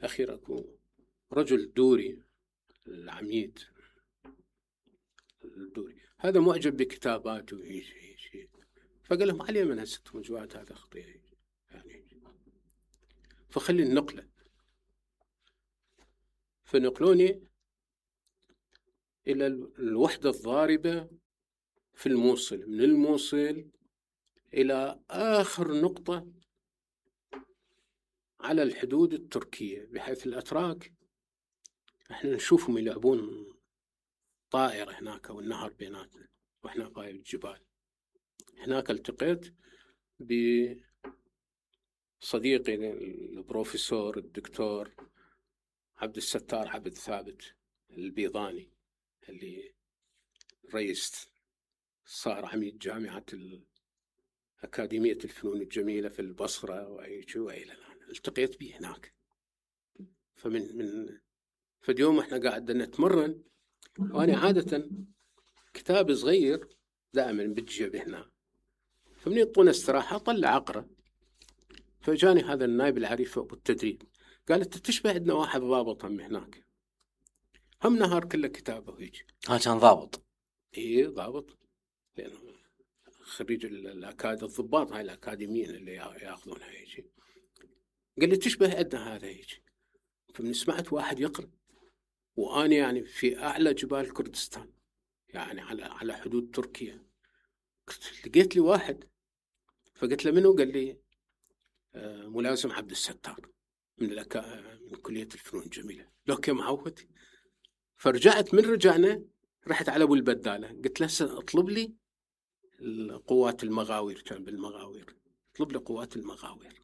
أخيرا أكو رجل دوري، العميد الدوري هذا معجب بكتاباته فقال لهم علي من هستهم جواد هذا خطير يعني، فخلي النقلة. فنقلوني إلى الوحدة الضاربة في الموصل، من الموصل إلى آخر نقطة على الحدود التركية، بحيث الأتراك احنا نشوفهم يلعبون طائرة هناك والنهر بيناتنا واحنا قايب الجبال. هناك التقيت بصديقي البروفيسور الدكتور عبد الستار عبد ثابت البيضاني، اللي رئيس صار عميد جامعة أكاديمية الفنون الجميلة في البصرة وإلى الآن. التقيت به هناك. فاليوم احنا قاعد نتمرن، وأنا عادة كتاب صغير دائما بالجيب هنا، فمن يطون استراحة طلع أقرأ. فجاني هذا النائب العريف أبو التدريب قال أنت تشبه عندنا واحد ضابط هم هناك، هم نهار كله كتابه ويجي. كان ضابط؟ إيه ضابط، لأنه خريج الضباط هاي الأكاديميين اللي يأخذونها يجي. قال لي تشبه عندنا هذا يجي. فمن سمعت واحد يقرأ، وأنا يعني في أعلى جبال كردستان، يعني على حدود تركيا. لقيت لي واحد، فقلت له منو؟ قال لي ملازم عبد الستار من كلية الفنون الجميلة. لو كم معود. فرجعت، من رجعنا رحت على أبو البدالة، قلت له اطلب لي قوات المغاوير، كان بالمغاوير، اطلب لي قوات المغاوير.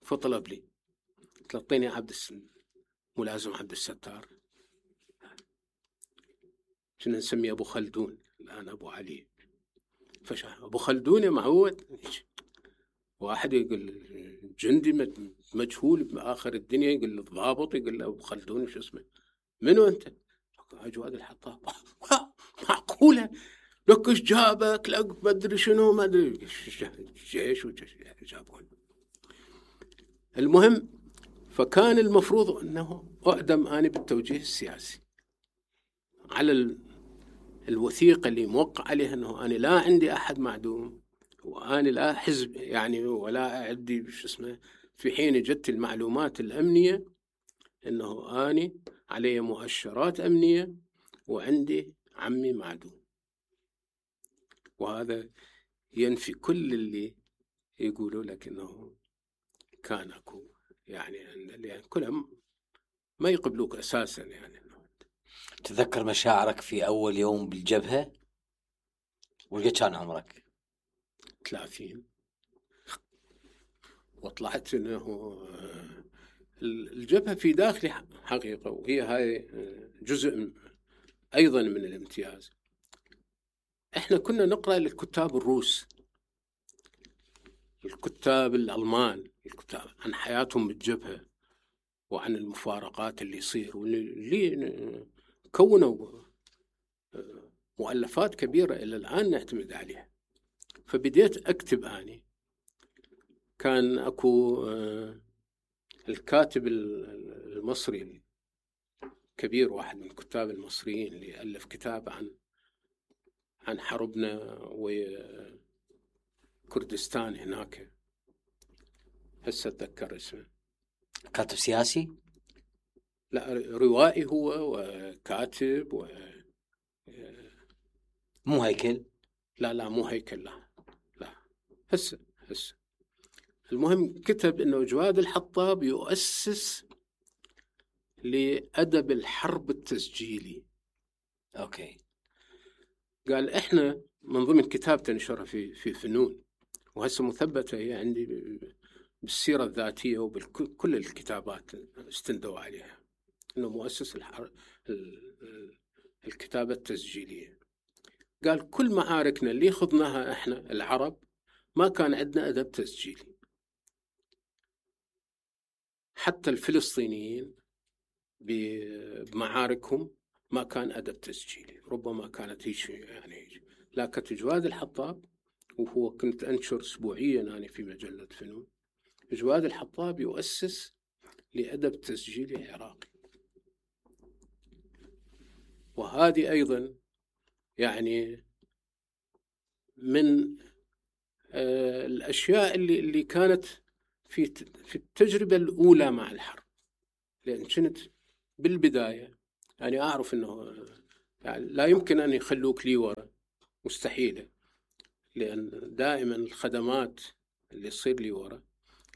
فطلب لي، قلت له اعطيني ملازم عبد الستار. كنا نسميه أبو خلدون، الآن أبو علي. أبو خلدون يا معود. واحد يقول جندي مجهول بآخر الدنيا، يقول الضابط، يقول له أبو خلدون شو اسمه، منو أنت؟ جواد الحطاب. معقولة؟ لك ايش جابك؟ لك ما ادري شنو، ما ادري جيش جابون. المهم، فكان المفروض انه اعدم انا بالتوجيه السياسي على الوثيقة اللي موقع عليها انه انا لا عندي احد معدوم، وانا لا حزب يعني، ولا عندي شو اسمه. في حين جت المعلومات الامنية انه انا علي مؤشرات امنية وعندي عمي معدوم. وهذا ينفي كل اللي يقولوا لك انه كان اكو يعني كلهم ما يقبلوك اساسا يعني. تذكر مشاعرك في اول يوم بالجبهة؟ وقد كان عمرك؟ 30. وطلعت انه الجبهة في داخلي حقيقة، وهي هاي جزء ايضا من الامتياز. احنا كنا نقرأ للكتاب الروس، الكتاب الألمان، الكتاب عن حياتهم بالجبهة وعن المفارقات اللي يصير، واللي كونوا مؤلفات كبيرة إلى الآن نعتمد عليها. فبديت أكتب أني. كان أكو الكاتب المصري الكبير، واحد من الكتاب المصريين، اللي ألف كتاب عن حربنا وكردستان هناك، هسه أتذكر اسمه. كاتب سياسي؟ لا، روائي هو وكاتب مو هيكل؟ لا مو هيكل، لا هسه. المهم كتب انه جواد الحطاب يؤسس لأدب الحرب التسجيلي. اوكي. قال احنا من ضمن كتاب تنشرها في فنون، وهسه مثبتة هي عندي بالسيرة الذاتية وبكل الكتابات استندوا عليها، انه مؤسس الكتابة التسجيلية. قال كل معاركنا اللي خضناها احنا العرب ما كان عندنا أدب تسجيلي. حتى الفلسطينيين بمعاركهم ما كان أدب تسجيلي، ربما كانت هيك يعني. لكن جواد الحطاب، وهو كنت أنشر أسبوعيا أنا في مجلة فنون، جواد الحطاب يؤسس لأدب تسجيلي عراقي. وهذه أيضا يعني من الأشياء اللي كانت في التجربة الأولى مع الحرب، لأن كنت بالبداية يعني أعرف أنه يعني لا يمكن أن يخلوك لي ورا، مستحيلة، لأن دائما الخدمات اللي تصير لي ورا،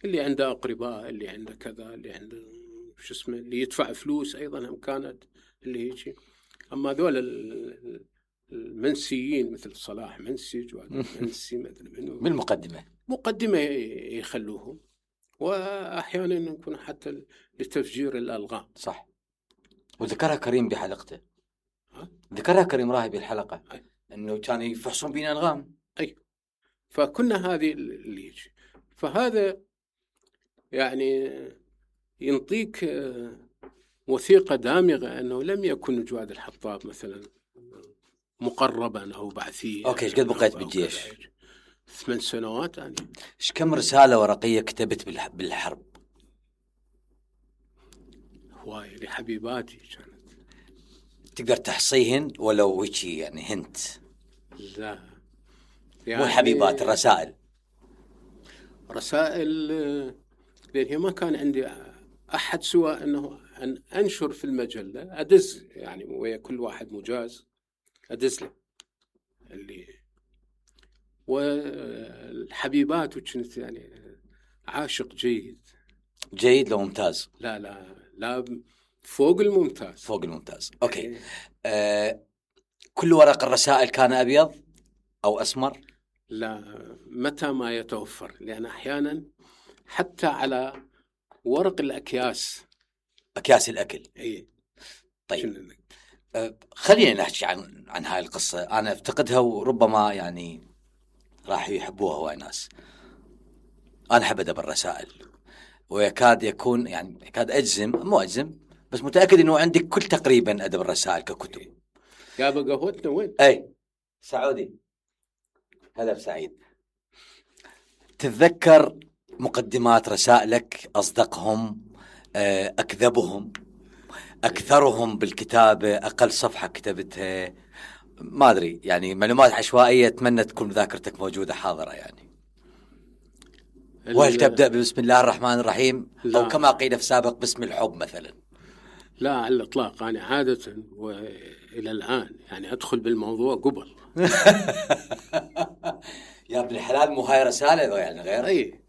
اللي عنده أقرباء، اللي عنده كذا، اللي عنده شو اسمه، اللي يدفع فلوس أيضا هم كانت اللي يجي. أما ذول المنسيين مثل صلاح منسي، منسي مثل منو بالمقدمة مقدمة يخلوهم، وأحيانا يكون حتى لتفجير الألغام. صح. وذكرها كريم بحلقته، ذكرها كريم راهي بالحلقة، أنه كانوا يفحصون بينا ألغام. أي، فكنا هذه اللي يجي. فهذا يعني ينطيك وثيقة دامغة أنه لم يكن جواد الحطاب مثلا مقربا أو بعثيا. أوكي، إيش قد بقيت بالجيش؟ 8 سنوات يعني. إيش كم رسالة ورقية كتبت بالحرب؟ هواية لحبيباتي كانت. تقدر تحصيهن ولو هيجي يعني هنت؟ لا يعني مو الحبيبات، الرسائل. رسائل، لأن هي ما كان عندي أحد سوى أنه أن أنشر في المجلة، أدز يعني ويا كل واحد مجاز أدز له اللي. والحبيبات وكنت يعني عاشق جيد لو ممتاز. لا فوق الممتاز. أوكي. كل ورق الرسائل كان أبيض أو أسمر؟ لا، متى ما يتوفر، لأن أحيانا حتى على ورق الأكياس، أكياس الأكل. إيه. طيب خلينا نحكي عن هاي القصة. أنا أفتقدها وربما يعني راح يحبوها هواي ناس. أنا أحب أدب الرسائل، ويكاد يكون يعني يكاد مو أجزم بس متأكد إنه عندك كل تقريبا أدب الرسائل ككتب. يا قهوتنا وين؟ أي سعودي، هذا سعيد. تتذكر مقدمات رسائلك؟ أصدقهم، أكذبهم، أكثرهم بالكتابة، أقل صفحة كتبتها؟ ما أدري، يعني معلومات عشوائية، أتمنى تكون ذاكرتك موجودة حاضرة يعني. وهل تبدأ بسم الله الرحمن الرحيم أو كما قيل في سابق باسم الحب مثلا؟ لا على الإطلاق. أنا عادة وإلى الآن يعني أدخل بالموضوع قبل. يا ابن الحلال، مو هاي رسالة يعني غير؟ أي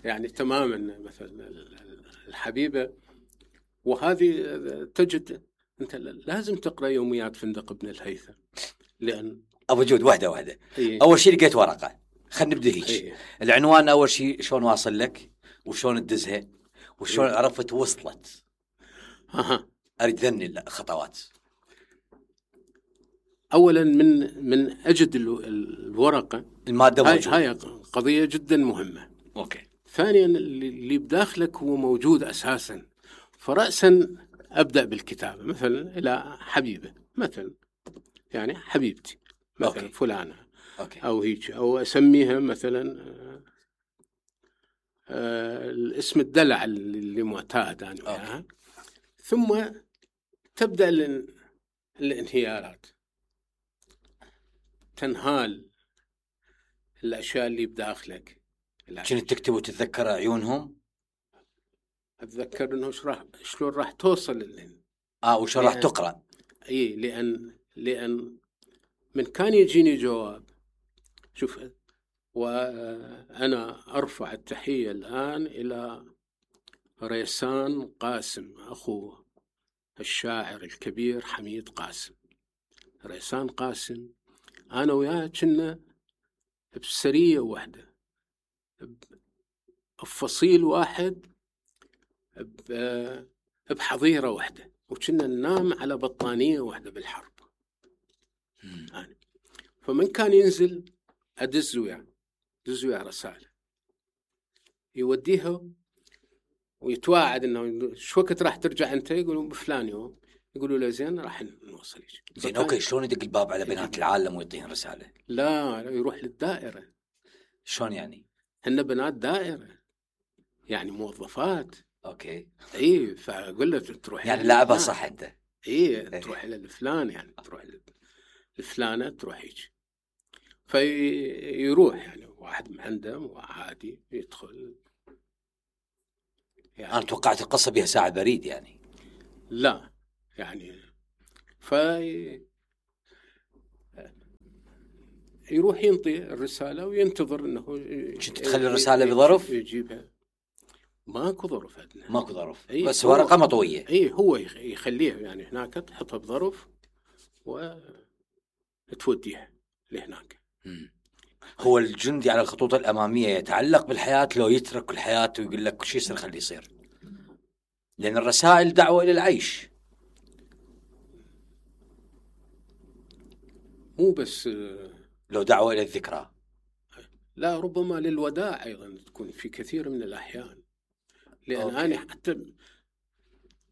يعني تماما. مثلا الحبيبة، وهذه تجد أنت لازم تقرأ يوميات فندق ابن الهيثم، لأن أبو جود واحدة. أول شيء لقيت ورقة، خلينا نبدأ هيك. العنوان أول شيء شلون واصل لك، وشلون تدزها، وشلون عرفت وصلت؟ أريد ذني الخطوات. أولا من أجد الورقة، المادة موجودة، هاي قضية جدا مهمة. أوكي. ثانيا اللي بداخلك هو موجود أساسا، فرأسا أبدأ بالكتابة مثلا إلى حبيبة مثلا، يعني حبيبتي مثلا أوكي. فلانة أوكي. أو هيك، أو أسميها مثلا الاسم الدلع اللي معتاد يعني. ثم تبدأ الانهيارات، تنهال الأشياء اللي بداخلك. كنت تكتب وتتذكر عيونهم؟ أتذكر إنه شلون راح توصل وشلون راح تقرأ. إيه، لأن من كان يجيني جواب. شوف، وأنا أرفع التحية الآن إلى ريسان قاسم، أخوه الشاعر الكبير حميد قاسم. ريسان قاسم أنا وياه كنا بسرية واحدة، بفصيل واحد، بحظيرة واحدة، وكنا ننام على بطانية واحدة بالحرب. فمن كان ينزل أدز وياه رسالة، يوديها ويتواعد إنه شو وقت راح ترجع أنت، يقولون بفلان يوم، يقولوا له زين راح نوصل. زين أوكي، شلون يدق الباب على بنات العالم ويعطيهم رسالة؟ لا يروح للدائرة. شلون يعني؟ هن بنات دائرة يعني موظفات. أوكي. إيه، فأقول له تروح يعني لعبة صح أنت. إيه، تروح للفلان، يعني تروح للفلانة، تروح هيك. فيروح يعني واحد مهندم وعادي يدخل يعني أنا توقعت القصة بها ساعة بريد يعني. لا يعني يروح ينطي الرسالة وينتظر انه كنت تخلي الرسالة بظرف؟ يجيبها. ماكو ظرف عندنا. ماكو ظرف. بس ورقة مطوية. هو يخليها يعني هناك، تحطها بظرف وتوديها لهناك. هو الجندي على الخطوط الأمامية يتعلق بالحياة لو يترك الحياة ويقول لك شو يصير خليه يصير، لأن الرسائل دعوة إلى العيش. مو بس لو دعوة إلى الذكرى، لا، ربما للوداع أيضا تكون في كثير من الأحيان. لأن أنا حتى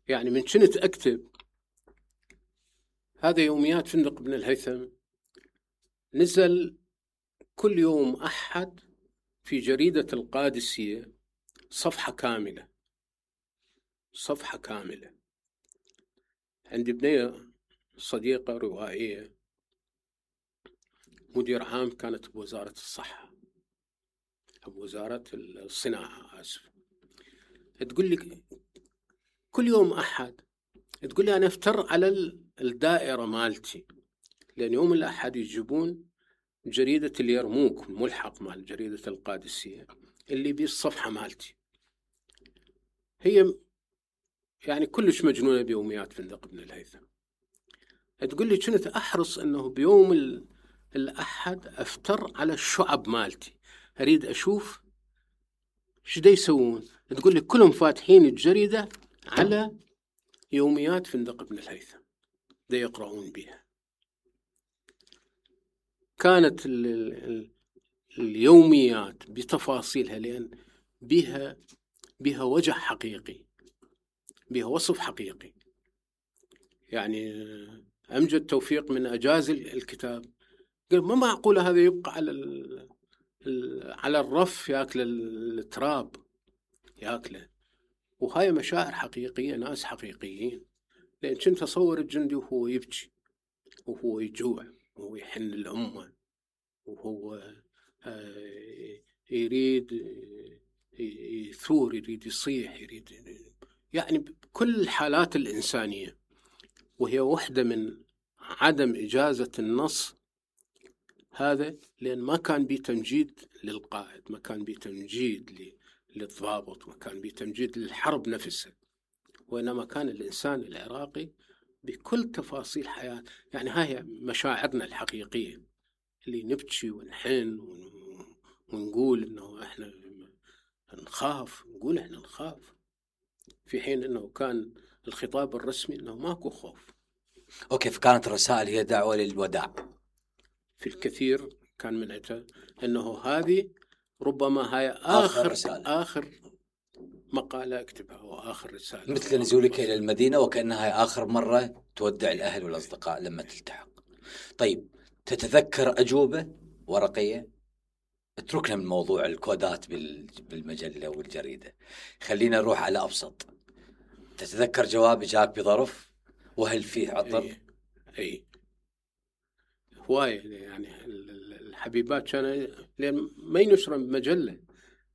يعني من كنت أكتب هذا يوميات فندق بن الهيثم، نزل كل يوم أحد في جريدة القادسية صفحة كاملة. عندي بنية صديقة روائية مدير عام كانت بوزارة الصحة، بوزارة الصناعة آسف، تقول لي كل يوم أحد تقول لي أنا أفتر على الدائرة مالتي، لأن يوم الأحد يجيبون جريدة اليرموك ملحق مال جريدة القادسية اللي بالصفحة مالتي. هي يعني كلش مجنونة بيوميات فندق بن الهيثم. تقول لي كنت أحرص أنه بيوم الأحد أفتر على الشعب مالتي، أريد أشوف شو دا يسوون. تقول لي كلهم فاتحين الجريدة على يوميات فندق بن الهيثم دا يقرؤون بها. كانت اليوميات بتفاصيلها، لأن بها وجه حقيقي، بها وصف حقيقي. يعني أمجد توفيق من أجاز الكتاب قال ما معقول هذا يبقى على الرف يأكل التراب يأكله. وهاي مشاعر حقيقية، ناس حقيقيين. لأن كنت أصور الجندي وهو يبكي وهو يجوع وهو يحن الأمة وهو يريد يثور، يريد يصيح، يريد يعني بكل الحالات الإنسانية. وهي واحدة من عدم إجازة النص هذا، لأن ما كان بيه تمجيد للقائد، ما كان بيه تمجيد للضابط، ما كان بيه تمجيد للحرب نفسها، وإنما كان الإنسان العراقي بكل تفاصيل حياة. يعني هاي مشاعرنا الحقيقية اللي نبكي ونحن ونقول إنه إحنا نخاف، نقول إحنا نخاف، في حين إنه كان الخطاب الرسمي إنه ماكو خوف. أوكي، فكانت الرسائل هي دعوة للوداع. في الكثير كان منعتها إنه هذه ربما هاي آخر مقالة أكتبها وآخر رسالة، مثل نزولك إلى المدينة وكأنها هاي آخر مرة تودع الأهل والأصدقاء لما تلتحق. طيب، تتذكر أجوبة ورقية؟ اتركنا من موضوع الكودات بالمجلة والجريدة، خلينا نروح على أبسط. تتذكر جواب جاك بظرف وهل فيه عطر؟ أي هواية. يعني الحبيبات كان لأن ما ينشرن بمجلة،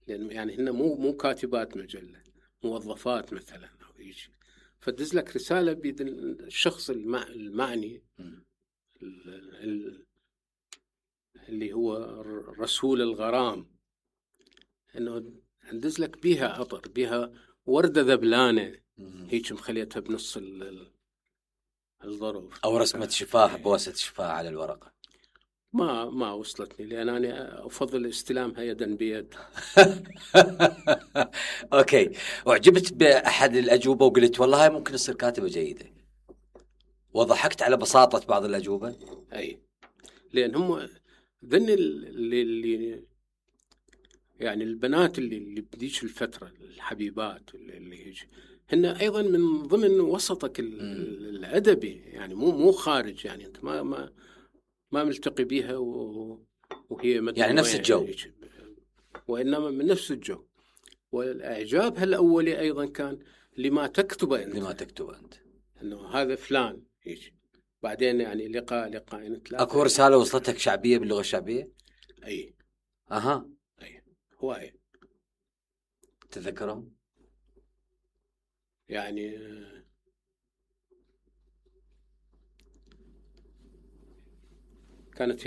لأن يعني هن مو كاتبات مجلة، موظفات مثلا أو يجي فدز لك رسالة بيد الشخص المعني اللي هو رسول الغرام، إنه ندز لك بيها عطر، بيها وردة ذبلانة هيك مخليتها بنص الظرف، أو رسمة شفاه، بواسة شفاه على الورقة. ما وصلتني، لأن أنا أفضل استلامها يدا بيد. أوكي، وعجبت بأحد الأجوبة وقلت والله ممكن تصير كاتبة جيدة، وضحكت على بساطة بعض الأجوبة. أي، لأن هم ذن اللي يعني البنات اللي بديش الفترة، الحبيبات اللي يجي هن أيضا من ضمن وسطك الأدبي، يعني مو خارج، يعني أنت ما ملتقي بيها وهي يعني نفس الجو، وإنما من نفس الجو. والإعجاب الأولي أيضا كان لما تكتبه أنت، إنه هذا فلان يجي بعدين يعني لقاء أكو رسالة وصلتك شعبية باللغة الشعبية؟ أي اها أي هواية. تذكرهم؟ يعني كانت